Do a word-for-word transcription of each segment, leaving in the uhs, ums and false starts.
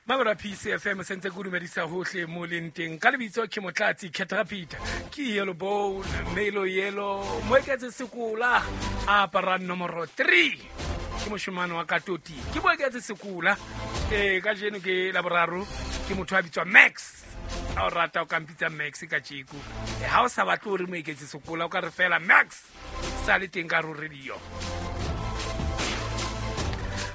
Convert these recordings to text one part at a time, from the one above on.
Mabora P C F M sentse ke dumedisa hohle mo leng teng. Ka lebitso ke Motlatsi Caterpillar, ke Yellow Bone, Melo Yellow, Moeketse Sekola a apara nomoro three. Ke moshemane wa Katoti. Ke Moeketse Sekola. Eh kajeno ke Laboraro, ke motho a bitswa Max. Ha o rata o ka mpitsa Max ka tjeko. Eh ha o sa batle hore Moeketse Sekola o ka re fela Max. Sa le teng ka ro radio.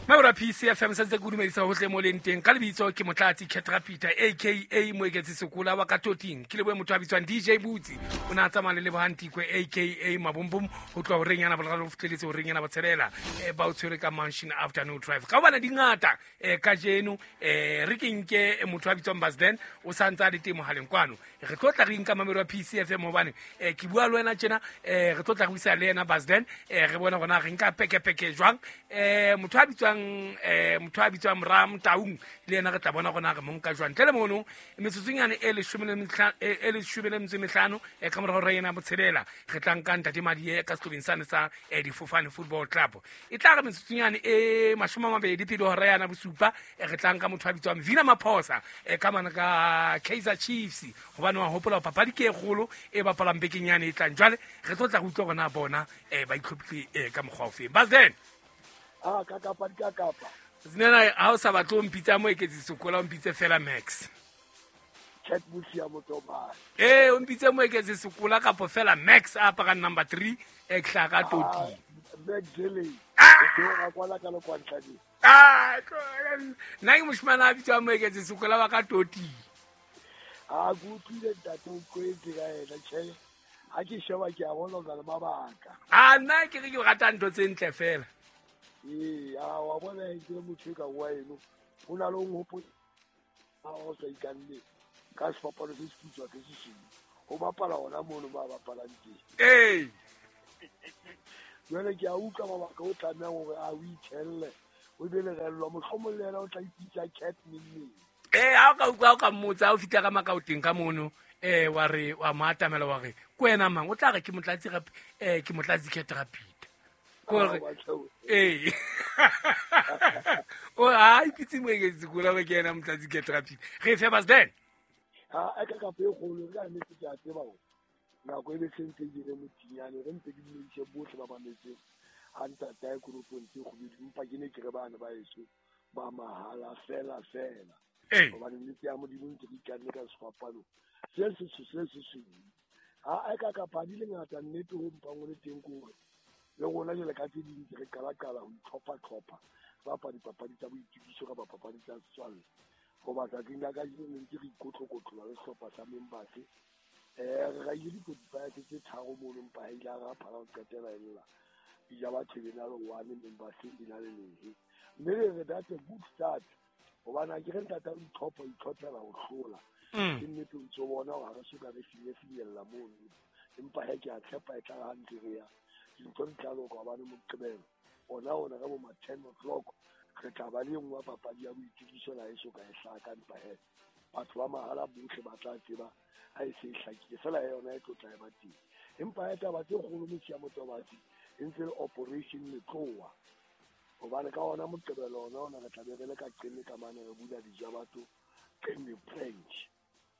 Mabora P C F M sentse ke dumedisa hohle mo leng teng. Ka lebitso ke Motlatsi Caterpillar A K A Moeketse Sekola wa Katoting. Ke lebohe motho a bitswang D J Butsi. O na tsamaya le Lebohang Tikwe A K A Mabombom ho tloha horeng yana boraro ho fihleletse horeng yana botshelela. Eh ba o tshwere ka Mansion Afternoon Drive. Ka hobane di ngata eh kajeno eh re ke nke motho a bitswang Basden o sa ntse a le teng mohaleng kwano. Re tlo tla re nka mamelo ya P C F M hobane eh ke bua le wena tjena eh re tlo tla re buisa le yena Basden eh re bona hore na re nka pekepeke jwang. Eh motho a bitswang eh motho a bitswang Ram Taung le yena re tla bona gona re monka jwang. Ntle le mono metsotsonyane e leshome le metlha e leshome le metso e mehlano e ka morao re yena botshelela re tla nka ntate Madie ka sehlobeng sane sa Difofane Football Club. E tla re metsotsonyane e mashome a mabedi pele hora yana bosupa re tla nka motho a bitswang Vina Maphosa e ka mana ka Kaizer Chiefs hobane wa hopola papadi ke e kgolo e bapalang bekeng yane e tlang. Jwale re tlo tla re utlwa gona bona ba itlhophile ka mokgwa ofe. Basden. Ah, ka kapa di ka kapa. Zinena ha o sa batle o mpitsa Moeketse Sekola o mpitse fela Max. Chat busi ya motobane. Eh o mpitse Moeketse Sekola kapo fela Max a apara number three e tlhaga toti. Max Jelly. Ah, ke o kwala ka lokwantla di. Ah, nna ke moshemane a bitswa Moeketse Sekola wa ka toti. Ah, go utlwile ntate o kwetse ka ena tjhe. Ha ke sheba ke a bona o na le mabaka. Ah, nna ke re ke rata ntho tse ntle fela. Ee, a wa bona ke motho ka wa eno. Ho na le o hopo a o sa ikanne ka sefapano se seputswa ke se seng. Ho bapala hona mono ba bapalang teng. Ee. Jwale ke a utlwa mabaka o tlamehang hore a o ithelle. O be le rellwa mohlomong le yena o tla ipitsa cat neng. Eh ha o ka utlwa o ka mmotsa o fihla ka makaoteng ka mono eh wa re wa mo atamela wa re ke wena mang o tla re ke Motlatsi eh ke Motlatsi Caterpillar. Kore eh o a ipitse Moeketse Sekola ba ke yena Motlatsi Caterpillar. Re fe Basden. Ha a ka kapa e kgolo ka nnete ke a tseba hore nako e be sentse ke re motinyane re ntse ke dumedise bohle ba mametseng ha ntatae koropong tse kgubedu empa ke ne ke re bana ba heso ba mahala fela fela. Hobane nnete ya Modimo ntse re ikanne ka sefapano se se se se se. Ha a ka kapa di le ngata nnete ho mpang o le teng ke hore le rona jwale ka tse ding re qala qala ho itlhopha-tlhopha bapala dipapadi tsa boitukiso kapa papadi tsa setswalle. Hoba tsatsing la kajeno ntse re ikotlokotlola le sehlopha sa Members. Eh re raile di-forty-five tse tharo mono mpa ha ile ra phala ho qetela e lla. Dija batho e na le one Members e na le lehe. Mme re re that's a good start. Hobane ha ke re ntata o itlhopha o itlhophela ho hlola. Ke nnete o ntso bona hore ha re soka re finyefinyella mono. Empa he ke a tshepa e tla re ha ntse re ya dintho di tla loka hobane Moqebelo ona ona ka bo ma ten o'clock re tla ba le nngwe ya papadi ya boitukiso la eso ka e hlaka empa he batho ba mahala bohle ba tla tseba ha e se e hlakile fela yona e tlo tla e ba teng. Empa he taba tse kgolo motho ya Motobatsi e ntse le Operation Letloa hobane ka ona Moqebelo ona ona re tla be re le ka Qeme ka mane re bula dijabato Qeme Branch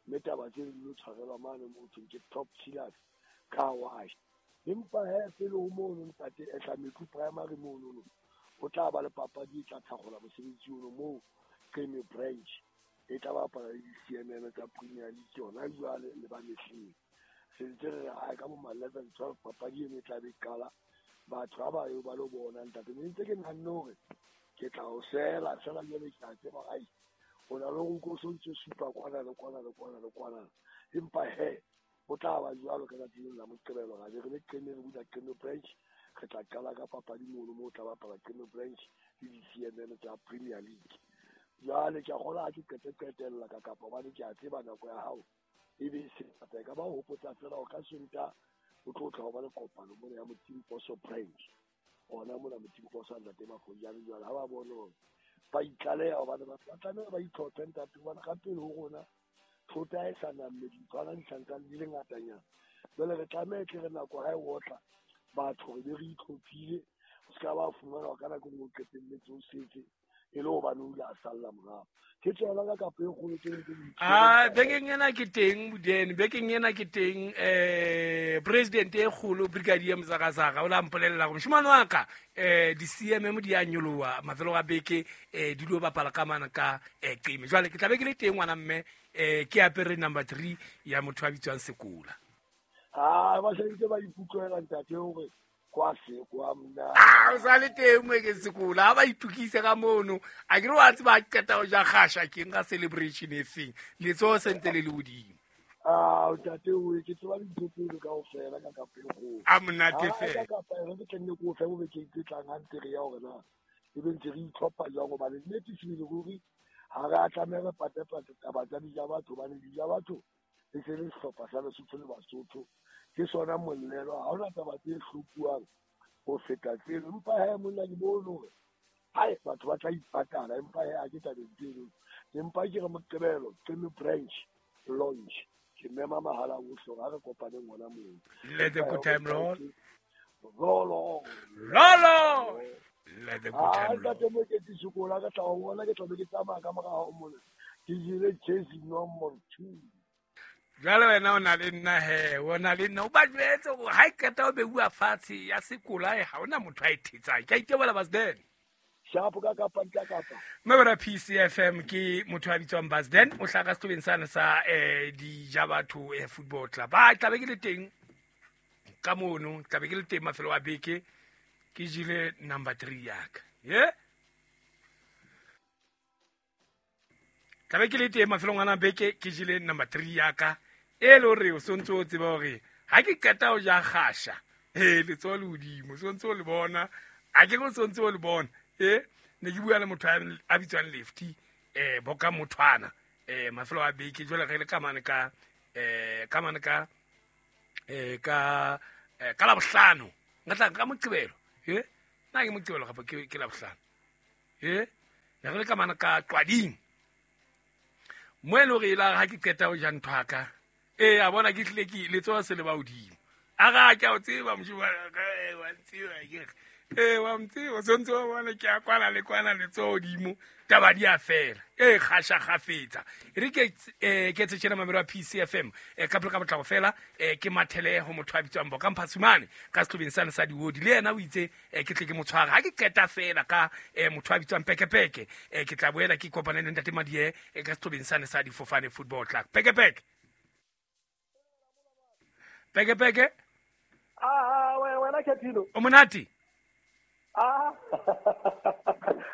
mme taba tse di lo tshwarelwa mane mo thweng ke Top Killers Car Wash. Empa he pele ho mono ntate Ehlametlu Primary mono no ho tla ba le papadi e tla thakgola mosebetsi ono moo Qeme Branch e tla bapala le di-C M M tsa Premier League yona jwale le ba mehleng. Se ntse re re ka bo ma eleven twelve papadi eno e tla be qala batho ha ba yo ba lo bona ntate. Mme ntse ke nahanne hore ke tla o sela fela jwale ke a tseba ai o na le ho o so ntse supa kwana le kwana le kwana le kwana. Empa he ho tla ba jwalo ka tsatsi la Moqebelo ra be re le Qeme re bula Qeme Branch re tla qala ka papadi mono moo tla bapala Qeme Branch le di-C M M tsa Premier League. Jwale ke a kgolwa ha ke qete qetella ka kapa hobane ke a tseba nako ya hao e be e se ngata. E ka ba ho hopotsa fela hore ka Sontaha o tlo tla ho ba le kopano mona ya Motimposo Branch ona mona Motimposo a ntate Mafojane. Jwale ha ba bone hore ba itlaleha hobane batho ba tlameha ba itlhophe ntate hobane ka pele ho rona thota e sa namme dinthwana di santsane di le ngatanyana. Jwale re tlameha tle re nako ha e otla batho re be re itlhophile o se ka ba fumana ka nako e nngwe o qetelletse o setse e le hobane o ile a salla morao. Ke tsona ka kapa e kgolo tse ntse di Ah, bekeng ena ke teng Budene, bekeng ena ke teng eh president e kgolo Brigadier Mzakazaka o la mpolella gore moshimane wa ka eh di C M M di a nyoloha mafelo a beke eh di lo bapala ka mana ka eh qeme. Jwale ke tla be ke le teng ngwana mme eh ke apere number three ya motho a bitswang Sekola. Ah, ba sentse ba ikutlwela ntate hore kwa se kwa mna. Ah, o sa le teng mo ke Sekola, ha ba itukise ka mono. A ke re wa tseba qeta ho ja kgasha ke nka celebration e feng. Letsoho sentse le le hodimo. Ah, ntate o ke tseba dintho tseo kaofela ka kapa e kgolo. A monate fela. Ka kapa re ke tlenne ko fe bo beke tse tlang ha ntse re ya hore na e be ntse re itlhopha jwang hobane nnete sebele ruri ha re a tlameha re patepate taba tsa dija batho hobane dija batho e se le sehlopha sa Lesotho le Basotho. Ke sona mollelo ha hona taba tse hlokuwang ho feta tseno. Empa he monna ke bone hore hai batho ba tla ipatala, empa he ha ke tabeng tseno. Empa ke re Moqebelo Qeme branch launch ke mema mahala ohle hore ha re kopaneng hona moo. Let the good time roll. Roll on. Roll on. Let the good time roll. Ntate Moketsi Sekola ka tla o bona ke tla be ke tsamaya ka mora hao mona. Ke jele jersey number two. Jwale wena o na le nna he, o na le nna o ba jwetse hore ha e qeta o beuwa fatshe ya Sekola e ha hona motho a e thetsang. Ke a itebola Basden. Shapo ka kapa nka kapa. Mebera P C F M ke motho a bitswang Basden, o hlaka sehlobeng sane sa eh dija batho eh football club. Ba tla be ke le teng ka mono, tla be ke le teng mafelo a beke ke jile number three ya ka. Ye? Tla be ke le teng mafelong ana beke ke jile number three ya ka. E le hore o sontse o tseba hore ha ke qeta ho ja kgasha eh letsoho le hodimo sontse o le bona ha ke go sontse o le bona eh ne ke bua le motho a bitswang Lefty eh boka mothwana eh mafelo a beke jwale re le ka mane ka eh ka mane ka eh ka ka la bohlano nka tla ka Moqebelo eh na ke Moqebelo kapa ke ke la bohlano eh ne re le ka mane ka Qwading mo e le hore ela ha ke qeta ho ja ntho ya ka eh a bona ke tlile ke letsoho se le ba hodimo a ga ke a o tseba moshimane ka eh wa ntseba ke eh wa ntseba sontse wa bona ke a kwana le kwana letsoho hodimo taba di a fela eh kgasha kgafetsa e re ke eh ke tshela mamelo a P C F M eh ka pele ka botlako fela eh ke mathele ho motho a bitswang Boka Mphasumane ka sehlobeng sane sa diodi le yena o itse eh ke tle ke motshwara ha ke qeta fela ka eh motho a bitswang Pekepeke eh ke tla boela ke kopane le ntate Madie eh ka sehlobeng sane sa Difofane Football Club. Pekepeke Pekepeke. Ah, wena Kethilo. O monate? Ah.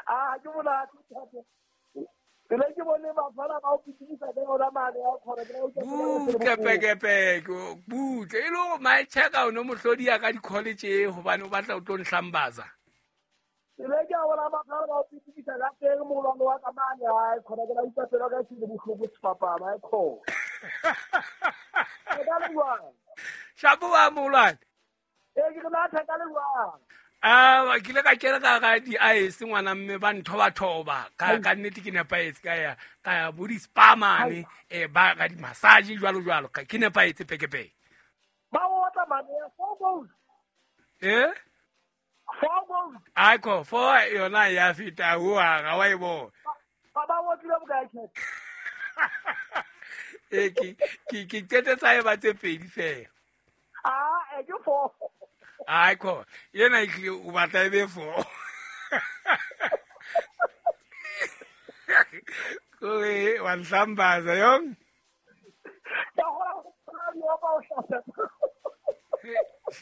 Ah, ke monate. Pele ke bone bafana ba o pitikisa ka yona mane ya khona ke o butle Pekepeke, butle. E le hore my check o no mohlodi ya ka di-college hobane o batla o tlo nhlambaza. Pele ke a bona bafana ba o pitikisa ka teng molwane wa ka mane ha khona ke la utlwa pelo ka se le bohloko sefapana ha khona. Ke ka le jwang? Shapo wa molwane. Eh ke na thaka le jwang? Ah, ke ile ka kena ka ga di-ice ngwana mme ba nthoba-thoba ka ka nnete ke nepahetse ka ya ka ya bo di-spa mane eh ba ka di-massage jwalo jwalo ka ke nepahetse Pekepeke. Ba otla mane ya four goals. Eh? Four goals. Ai ko four yona ya feta ho ga wa e bona. Ba ba otlile bokae tjhe? Eh ke ke ke qetetsa e ba tse pedi fela. Ah, eh ke four. Ai ko yena e tlile o batla e be four. Kore wa nhlambaza yong. Ka hora go tsaya ba o hlasa.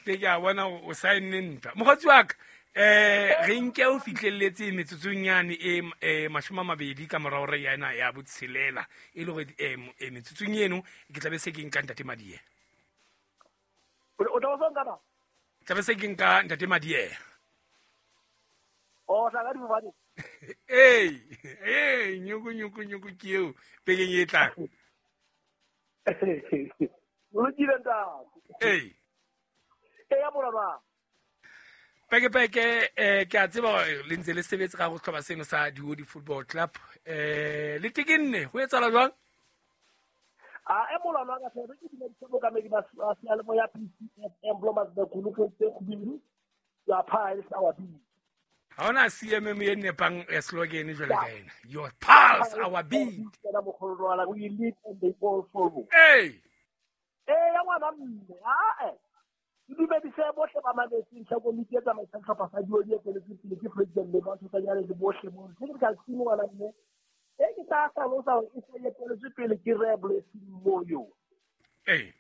Ke ke a bona o saenne ntwa. Mokgotsi wa ka eh re nke o fihlelletse metsotsong yane e e mashome a mabedi ka morao re yana ya botshelela e le hore eh metsotsong eno ke tla be se ke nka ntate Madie. O tla o nka ba? Tla be se ke nka ntate Madie. O tla ka difofane. Ee, ee, nyoko nyoko nyoko ke eo bekeng e tlang. O lokile ntate. Ee. E ya moraba. Pekepeke eh ke a tseba hore le ntse le sebetse ka go tlhoba seno sa Diodi Football Club. Eh le tekenne ho etsahala jwang? A e molwana wa ka fela ke dumedisa bokamedi ba seyalemoya P C F M Blomas Bekulu ke tse kgubedu ya pha e sa wa bini. Ha ona C M M e nepang slogan jwale ka ena. Your pulse, our beat. We lead and they all follow. Hey. Eh ya ngwana mme a eh dumedise bohle ba mametseng tsa komiti ya tsamaisang sehlopha sa Dioli e tsweletseng pele ke president le batho tsa nyane le bohle mo technical team ngwana mme e ke tla hlalosa hore e se etelletswe pele ke Re Blessing Moyo. Eh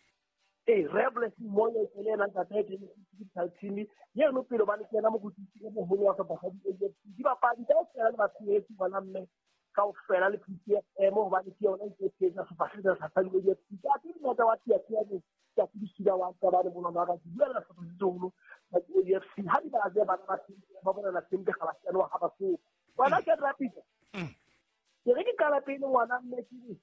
eh Re Blessing Moyo ke le yena ntate technical team yeno pele ba le kena mokotisi e moholo wa sehlopha sa Dioli. Dibapadi kaofela le batshehetsi ngwana mme kaofela le P T F M hobane ke yona e tshehetsa sehlopha sa Dioli. Ke a tseba wa T F M ke a tsebisila wa ka ba le bona ba ka bua le sehlopha se seholo sa Dioli F C ha di ba tseba bana ba ba bona sempe ga ba tsena ha ba so wena ke rapid ke re ke qala pele ngwana mme ke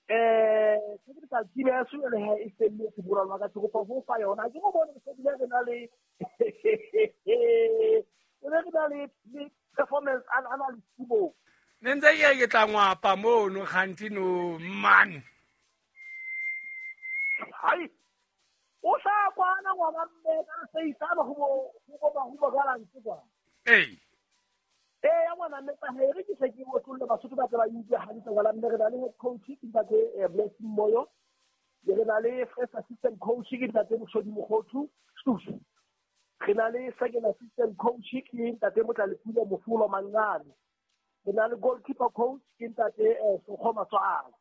eh technical team ya so le ha e felletse moralo wa ka ke kopa ho fa yona ke go bone se bile re na le re na le performance analysis bo ne ntse ke ke tla ngwapa mono kganti no man hai o sa kwana ngwana mme ka se isana go bo go ba go ba galantse kwa eh eh ya ngwana mme pa he re ke se ke o tlolle Basotho ba tla ba utlwe hantle ngwana mme re na le head coach ke ntate Blessing Moyo, re na le first assistant coach ke ntate Moshodi Mokgothu Stufu, re na le second assistant coach ke ntate Motlalepule Mofolo Mangane, re na le goalkeeper coach ke ntate Sokgo Matswala,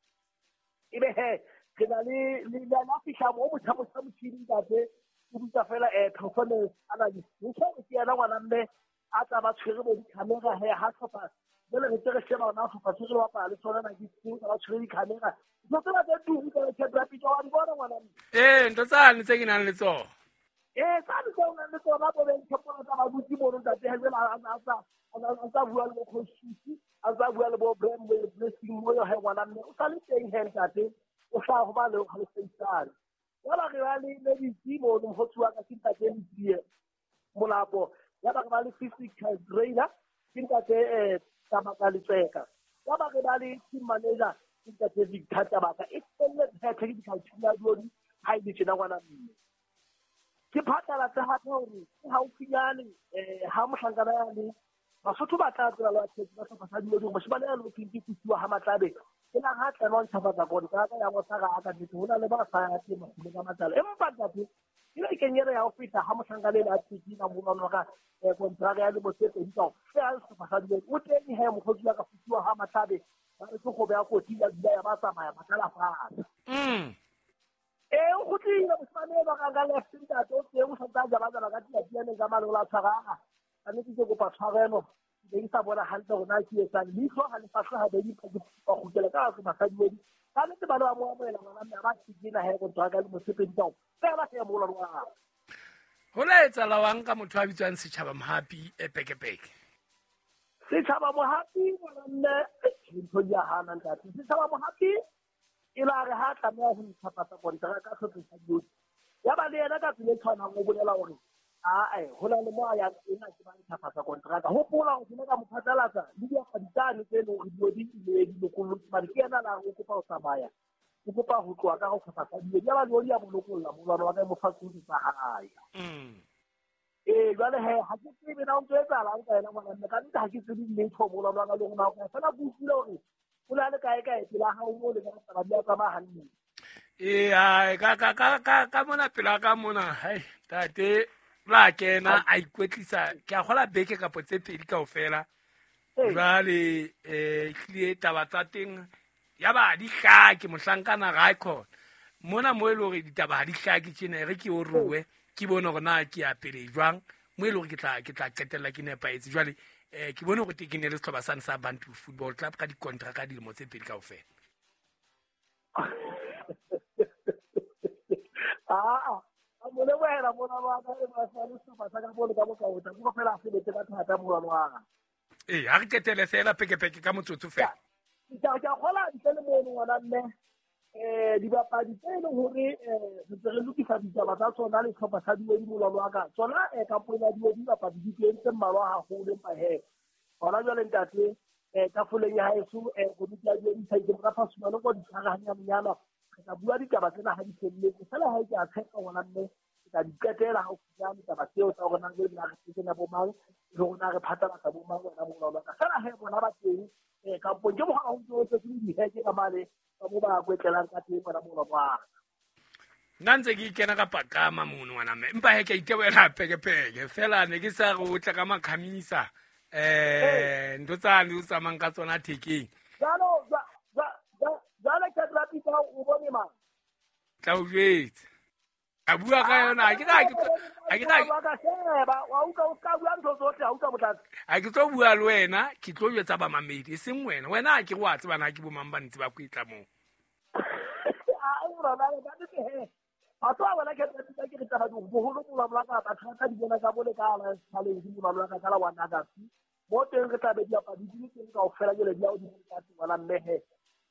ebe he re na le le la fihla mo motho mo motšhini ntate o butsa fela eh performance analyst o ke yena ngwana mme a tla ba tshwere bo di-camera he ha tlhopha jale re tse re sheba ona tlhopha se re bapala le tsona na ke tse ba tshwere di-camera ntho tsena tse tuku tsa Cat Rapid wa di bona ngwana mme eh ntho tsane tse ke nang le tsona eh tsane tse o nang le tsona bo beng tshepola tsa ba butse mono ntate ha jela a tsa a tsa bua le bo coach a tsa bua le bo Blessing Moyo he ngwana mme o sa le teng he ntate o sa ho ba le ho le seisane wala re ba le le ditsi mono mokgotsi wa ka ke ntate Letsie Molapo ya ba re ba le physical trainer ke ntate eh Tabaka Letseka, ya ba re ba le team manager ke ntate Victor Tabaka e felletse technical team ya Dioli ha e le tjena ngwana mme ke phatlalatse hape hore ke haufinyane eh ha mohlankana ya le Basotho ba tla tsela ba tshepe ba sehlopha sa Dioli hore moshemane ya lo ke kusiwa ha Matlabe ke la ha tla ntšhafatsa kontraka ya ngosaka a ka nnete ho na le ba sa ya teng makgolo ka matlalo empa ntate ke le kenyere ya ho feta ha mohlankana le a tsekina molwana ka kontraka ya lemo tse pedi kaofela sehlopha sa Dioli o teng he mokgotsi wa ka fusiwa ha Matlabe ba re ke go beya kotsi ya dula ya ba tsamaya ba tlala fatshe mm eh o kgutlile moshemane ba ka ka left ntate o teng o sa tla jaba jaba ka tiatianeng ka malola a tshwara ka nnete ke kopa tshwarelo ke ke sa bona hantle hore na ke etsang leihlo ha le fahle habedi ba kgutlela ka sehlopha sa Dioli ka nnete ba ba mo amohela ngwana mme ha ba tsekina he kontraka le mosepedi kaofela he molwana wa hae. Ho la etsahala wang ka motho a bitswang Setjhaba Mohapi e pekepeke? Setjhaba Mohapi ngwana mme ntho di a hana ntate. Setjhaba Mohapi e la re ha tlameha ho ntšhafatsa kontraka ka sehlopha sa Dioli ya ba le yena ka tsela e tshwanang o bolela hore ae ho na le mo a yang ena ke ba ntšhafatsa kontraka. Hopola hore ke ne ka mo phatlalatsa le diapadi tsane tse leng hore Dioli di di lokollotse mane ke yena la o kopa ho tsamaya o kopa ho tloha ka ho sehlopha sa Dioli ya ba Dioli ya mo lokolla molwana wa ka e mo fa tsohle tsa hae. Mm eh jwale he ha ke tsebe na o ntso etsahalang ka yena ngwana mme ka nnete ha ke tsebe letho molwana wa ka le hore na fela ke utlwile hore o na le kae kae pela hao mo le ka taba di a tsamaya hantle. Eh ai ka ka ka ka ka mona pela ka mona hai tate la kena a ikwetlisa ke a kgola beke kapo tse pedi kaofela jwale eh tlile taba tsa teng ya ba di hlake mohlankana ga e khona mona mo e le hore ditaba ha di hlake tjena re ke o ruwe ke bone hore na ke ya pele jwang mo e le hore ke tla ke tla qetella ke nepahetse jwale eh ke bone hore ke ne le sehlopha sane sa Bantu Football Club ka dikontraka dilemo tse pedi kaofela. Ah a mo lebohela mona wa ka e ba sa le sehlopha sa ka bolo ka bokaota ke fela a sebetse ka thata molwana wa ka. Eh ha re qetele fela pekepeke ka motsotso fela. Ke a kgola ntle le mono ngwana mme eh dibapadi tse leng hore eh re ntse re lokisa ditaba tsa tsona le sehlopha sa Dioli molwana wa ka tsona eh kampong ya Dioli dibapadi di teng tse mmalwa haholo empa he hona jwale ntate eh tafoleng ya haeso eh komiti ya Dioli sa itse ka fasumane ko di tshwara hanyanyana re tla bua ditaba tsena ha di felletse fela ha ke a tshepa ngwana mme ke tla di qetela haufinyane taba tseo tsa hore na re na re kena bo mang le rona re phatlalatsa bo mang wena moholo wa ka. Fela he bona ba teng eh kampong ke mogala ho ntse o tletse diheke ka mane ka mo ba kwetlelang ka teng wena moholo wa ka. Nna ntse ke ikena ka paqama mono ngwana mme empa he ke a itebohela pekepeke fela ne ke sa re o tla ka makhamisa eh ntho tsane o tsamayang ka tsona thekeng. Jalo jwale ke tla pitsa o bone mang? Tla o jwetsa. A bua ka yona ha ke na ha ke na ka sheba wa utlwa o ka bua ntho tsohle ha utlwa motlatsi. Ha ke tlo bua le wena ke tlo jwetsa ba mamedi e seng wena. Wena ha ke re wa tseba na ke bo mang ba ntse ba kwetla moo. A o rona ba ke he. Batho ba bona ke tla pitsa ke re taba di boholo bo ba ka batho ba di bona ka bole ka la challenge mo ba ka la wa naga. Mo teng re tla be di apadi di teng kaofela jele di a o di ka tswana mme he.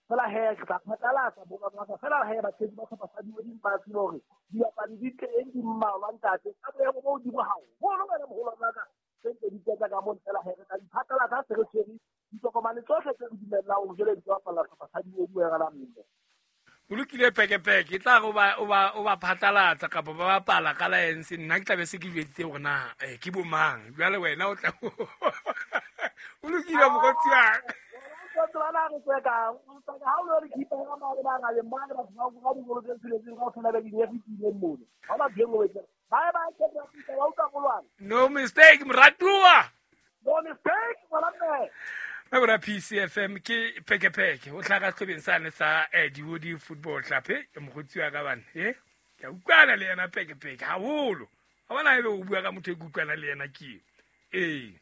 Fela he ke tla phatlalatsa bo ba ka fela he ba tshedi ba tlhopha sa di ba tsile hore dibapadi di teng di mmalwa ntate ka boemo bo hodimo haholo wena moholo wa ka tse ntse di tsetsa ka mono fela he re tla di phatlalatsa se re tshwere ditokomane tsohle tse re dumellang hore jwale di tlo bapalla hlopha sa di wena la mme. O lokile pekepeke e tla re o ba o ba o ba phatlalatsa kapa ba bapala ka laense nna ke tla be se ke jweditse hore na eh ke bo mang jwale wena o tla o lokile mokgotsi wa ka. Tswana re tseka ha o re khipa ka mare ba ga le mane ba ba ba di bolo tse tsheletseng ka tshwana le di e fitileng mono ha ba dingwe ba ba ba ke ba pitsa ba utlwa molwana. No mistake moratuwa. No mistake wala mme. Mabura P C F M ke pekepeke o tlhaka sehlobeng sane sa eh Diodi Football Club e mokgotsi wa ka bana eh ke a utlwana le yena pekepeke haholo ha bona ebe o bua ka motho e ke utlwana le yena ke eh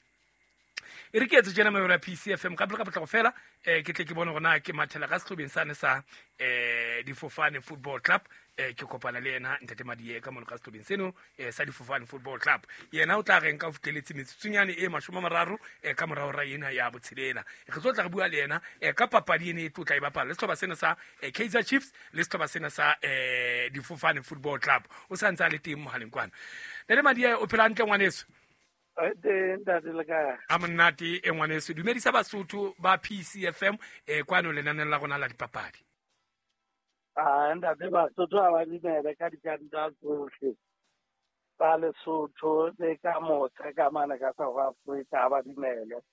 e re ke etse tjena Mabura P C F M ka pele ka potlako fela eh ke tle ke bone hore na ke mathela ka sehlobeng sane sa eh Difofane Football Club eh ke kopana le yena ntate Madiye ka mono ka sehlobeng seno eh sa Difofane Football Club yena o tla reng ka fitlheletse metsotsunyane e mashome a mararo eh ka morao ra ena ya botshelela re tlo tla re bua le yena eh ka papadi ene e tlotla e bapala le sehlopha sena sa eh, Kaizer Chiefs le sehlopha sena sa eh Difofane Football Club o sa ntse a le teng mohaleng kwana. Ntate Madiye o phela hantle ngwaneso? A monate e ngwaneso dumedisa Basotho ba P C F M eh kwano lenaneng la rona la dipapadi. Ah ntate Basotho ha ba dumele ka dikanta tsohle tsa Lesotho le ka motse ka mane ka South Africa ha ba dumele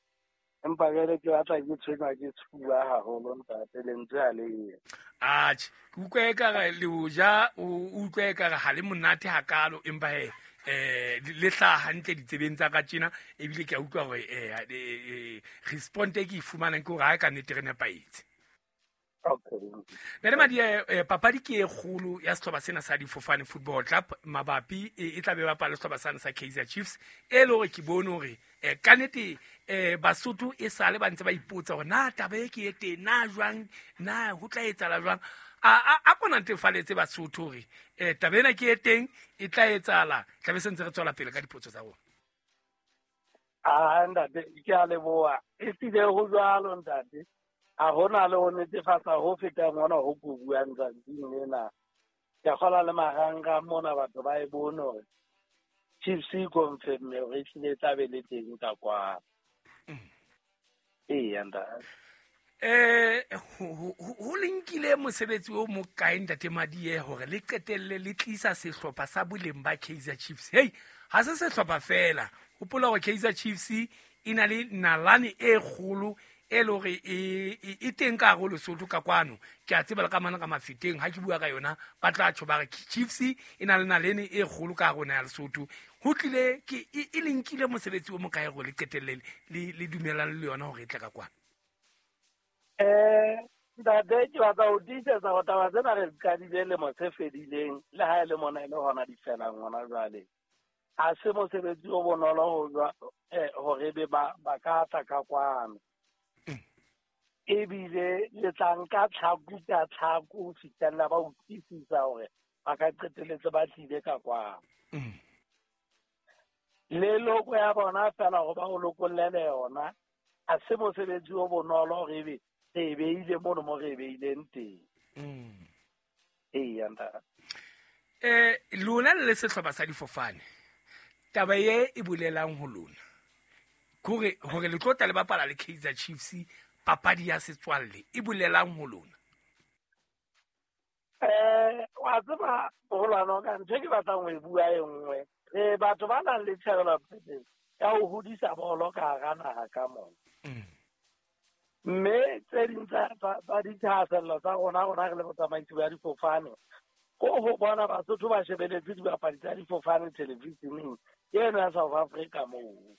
empa jwale ke batla ke tshwenywa ke sefuba haholo ntate lentswe ha le ye. Atjhe ke utlwe ekare le o ja o utlwe ekare ha le monate hakalo empa he eh le hlaha hantle ditsebeng tsa ka tjena ebile ke a utlwa hore eh response e ke e fumanang ke hore ha e ka nnete re nepahetse. Okay. Ntate Madiye papadi ke e kgolo ya sehlopha sena sa Difofane Football Club mabapi e tla be bapala sehlopha sena sa Kaizer Chiefs e le hore ke bone hore ka nnete eh Basotho e sale ba ntse ba ipotsa hore na taba e ke e teng na jwang na ho tla etsahala jwang a a a kona ntefaletse Basotho hore eh taba ena ke e teng e tla etsahala tla be se ntse re tswela pele ka dipotso tsa rona. Ah ntate ke a leboha e hlile ho jwalo ntate ha hona le ho netefatsa ho fetang hona ho ko buang tsatsing lena. Ke a kgolwa le marangrang mona batho ba e bone hore Chiefs e confirm-e hore ehlile e tla be le teng ka kwano. Eya ntate. Eh ho le nkile mosebetsi o mokae ntate Madiye hore le qetelle le tlisa sehlopha sa boleng ba Kaizer Chiefs? Hey ha se sehlopha fela hopola hore Kaizer Chiefs e na le nalane e kgolo e le hore e e teng ka hare ho Lesotho ka kwano ke a tseba le ka mana ka mafeteng ha ke bua ka yona ba tla tjho ba re Chiefs e na le nalane e kgolo ka hare ho naha ya Lesotho ho tlile ke e le nkile mosebetsi o mokae hore le qetelle le le dumelane le yona hore e tle ka kwano? Eh ntate ke batla ho tiisetsa hore taba tsena re di qadile lemo se fedileng le ha e le mona e le hona di felang hona jwale. Ha se mosebetsi o bonolo ho eh hore ebe ba ba ka tla ka kwano. Ebile le tla nka tlhaku ka tlhaku ho fihlella ba utlwisisa hore ba ka qetelletse ba tlile ka kwano. Le loko ya bona fela hore ba o lokollele yona ha se mosebetsi o bonolo hore ebe re e beile mono mo re e beileng teng. Eya ntate. Eh lona le sehlopha sa Difofane taba ye e bolelang ho lona kore hore le tlo tla le bapala le Kaizer Chiefs papadi ya setswalle e bolelang ho lona? Eh wa tseba moholwane wa ka, ntho e ke batlang ho e bua e nngwe, re batho ba nang le tjhebelopele ya ho hodisa bolo ka hara naha ka mona. Mme tse ding tsa dithahasello tsa rona rona re le botsamaisi ba difofane ko ho bona Basotho ba shebeletse dibapadi tsa difofane televisioneng eno ya South Africa moo.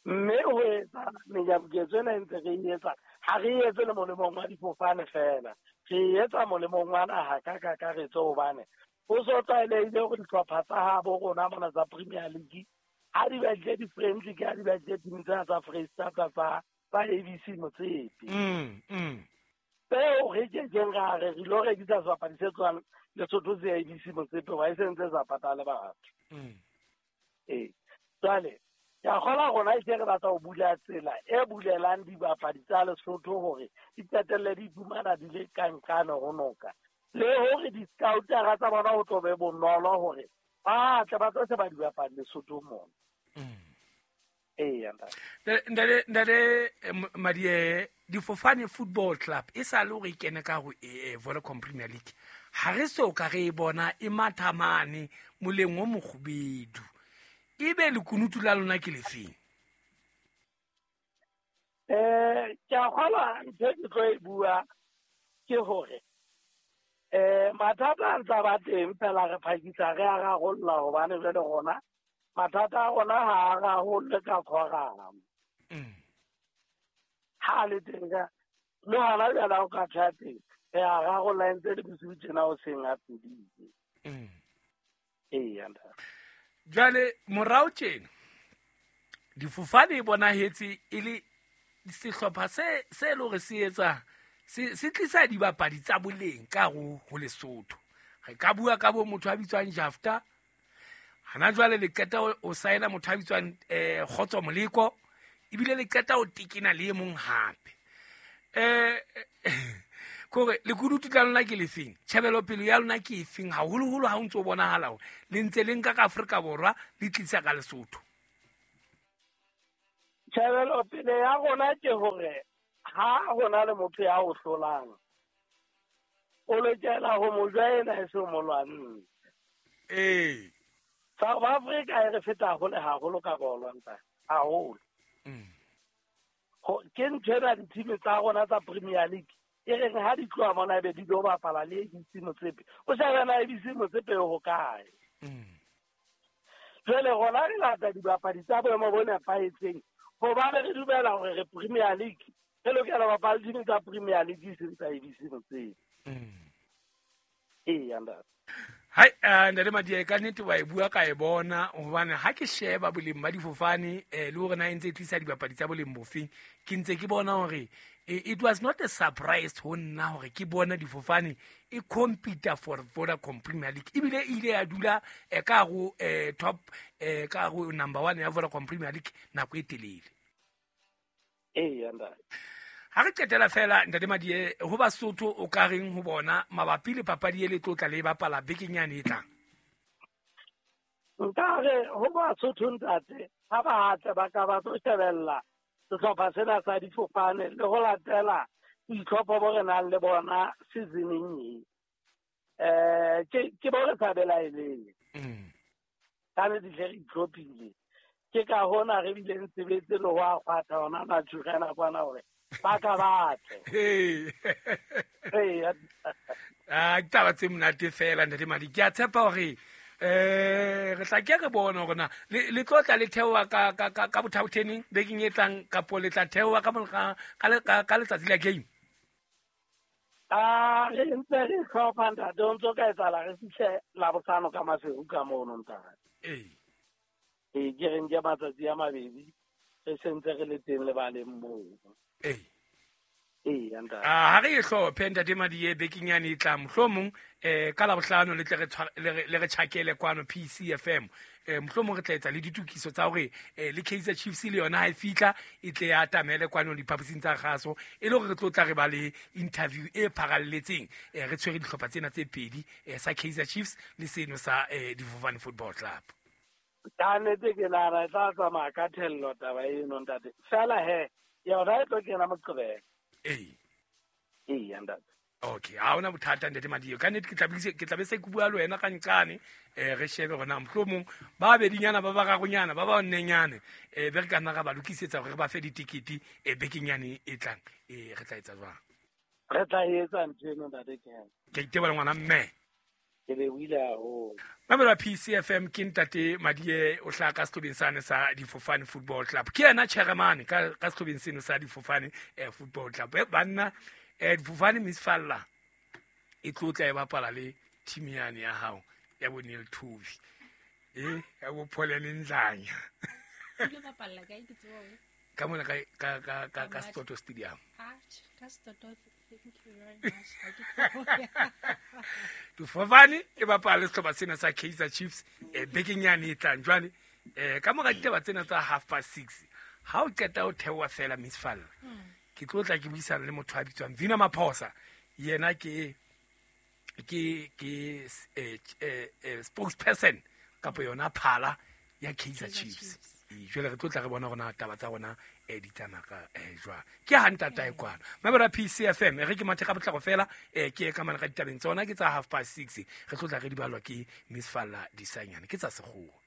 Mme ho etsa menyabuketso ena e ntse re e etsa, ha re e etse le molemong wa difofane feela, re e etsa molemong wa naha ka kakaretso, hobane ho so tlwaelehile hore dihlopha tsa habo rona mona tsa Premier League ha di batlile di-friendly, ke ha di batlile team tsena tsa Freistata tsa tsa A B C Motsepe. Tseo re kekeng ra re re lo rekisa sebapadi se tswang Lesotho se A B C Motsepe hoba e sentse sa patale batho. Ee, jwale ke a kgolwa rona e se re batla ho bula tsela e bulelang dibapadi tsa Lesotho hore di qetelle di iphumana di le ka nqane ho noka, le hore di-scoutera tsa bona ho tlo be bonolo hore ba tle ba tlo sheba dibapadi Lesotho mona. Ee, ntate ntate Madiye, Difofane Football Club e sa le hore e kene ka ho Vodacom Premier League, ha re so ka re e bona e matha mane moleng o mokgubedu, ebe lekunutu la lona ke lefeng? Eh ke a kgolwa ntho e ke tlo e bua ke hore eh mathata a ntsa ba teng fela re phakisa re a rarolla, hobane jwale rona mathata a rona ha a rarollwe ka quorum. Ha le teng ka le hona jwale ha o ka tjha teng re a rarolla ntse le bosiu tjena o seng a fedile. Ee, jwale morao tjena difofane e bonahetse e le sehlopha se se le hore se etsa se se tlisa dibapadi tsa boleng ka ho ho Lesotho. Re ka bua ka bo motho a bitswang Jafta, hana jwale le qeta o saena motho a bitswang eh Kgotso Moleko, ebile le qeta o tekena le e mong hape. Eh kore lekunutu la lona ke lefeng? Tjhebelopele ya lona ke efeng haholoholo ha o ntso bonahala hore le ntse le nka ka Afrika Borwa le tlisa ka Lesotho? Tjhebelopele ya rona ke hore ha hona le motho ya o hlolang, o lokela ho mo joina e se mo lwantshe. Ee. South Africa e re feta hole haholo ka bolo ntate, haholo. Ke ntho ena di-team tsa rona tsa Premier League e reng ha di tloha mona ebe di lo bapala le A B C Motsepe, o shebe na A B C Motsepe ho kae. Jwale rona re lata dibapadi tsa boemo bo nepahetseng, hobane re dumela hore re Premier League, re lokela ho bapala diteam tsa Premier League e seng tsa A B C Motsepe. Ee, ntate. Hai, ntate Madiye, ka nnete wa e bua ka e bona, hobane ha ke sheba boleng ba difofane eh le hore na e ntse e tlisa dibapadi tsa boleng bofeng, ke ntse ke bona hore it was not a surprise ho nna hore ke bona difofane e compete for Vodacom Premier League, ebile e ile ya dula ka ho top ka ho number one ya Vodacom Premier League nako e telele. Ee, ntate. Ha re qetela fela ntate Madiye, ho Basotho o ka reng ho bona mabapi le papadi e le tlotla le bapala bekeng yane e tlang? Nka re ho Basotho ntate, ha ba hatle ba ka ba tlo shebella sehlopha sena sa difofane le ho latela boitlhopho bo re nang le bona seasoneng e. Eh ke ke bo re sa belaeleng. Ka nnete hle re itlhophile. Ke ka hona re bileng sebetse le ho a kgwatha hona Naturena kwana hore ba ka batle. Ee. Ah, ke taba tse monate fela ntate Madi. Ke a tshepa hore eh re tla ke re bone hore na le tlotla le theoha ka ka ka bothaotheneng bekeng e tlang, kapo le tla theoha ka ka ka letsatsi la game? Ah, re ntse re hlopha ntate, o ntso ka etsahala re fihle Labohlano ka Maseru ka mono ntate. Ee. Ee, ke re nke matsatsi a mabedi re sentse re le teng lebaleng moo. Ee. Ee, ntate. Ah, ha re e hlophe ntate Madiye bekeng yane e tlang, mohlomong eh ka Labohlano le tle re le re tjhakele kwano P C F M. Eh mohlomong re tla etsa le ditokiso tsa hore le Kaizer Chiefs le yona ha e fihla e tle ya atamele kwano diphaposing tsa kgaso, e le hore re tlo tla re ba le interview e pharalletseng re tshwere dihlopha tsena tse pedi, sa Kaizer Chiefs le seno sa Difofane Football Club. Ka nnete ke nahana e tla tsamaya ka thello taba eno ntate. Fela he, yona e tlo kena Moqebelo. Ee. Ee, ntate. Okay, ha hona bothata ntate Madiye. Ka nnete ke tla be ke tla be se ke bua le wena ka nqane, eh re shebe hore na mohlomong ba bedinyana ba bararonyana ba ba nnenyane eh be re ka nna ra ba lokisetsa hore re ba fe ditikete eh bekeng yane e tlang, eh re tla etsa jwang? Re tla etsa ntho eno ntate Ken. Ke itebohela ngwana mme. Ke lebohile haholo. Mamelo P C F M ke ntate Madiye o hlaha ka sehlobeng sane sa Difofane Football Club. Ke yena chairman ka ka sehlobeng seno sa Difofane eh, Football Club. Eh, banna eh Difofane Miss Falla e tlotla e bapala le team yane ya hao ya bo Neil Tovi. Eh ya bo Paul Ndlanya. Ke bapalla kae ke tsebo? Ka mona ka ka ka ka, ka Soto Stadium. Ah, ka Soto. Thank you very much. Difofane e bapala le sehlopha sena sa Kaizer Chiefs eh bekeng yane e tlang jwale eh ka mora ditaba tsena tsa half past six ha o qeta o theoha fela Miss Falla. Ke tlo tla ke buisana le motho a bitswang Vina Maphosa. Yena ke ke ke eh, eh, spokesperson kapa yona phala ya Kaizer Chiefs. Jwale re tlo tla re bona rona taba tsa rona eh di tsamaya ka eh jwang. Ke ha ntatae kwana. Mamelo P C F M re ke mathe ka botlako fela eh ke ka mana ka ditabeng tsona ke tsa half past six. Re tlo tla re di balwa ke Miss Falla Disanyane ke tsa sekgowa.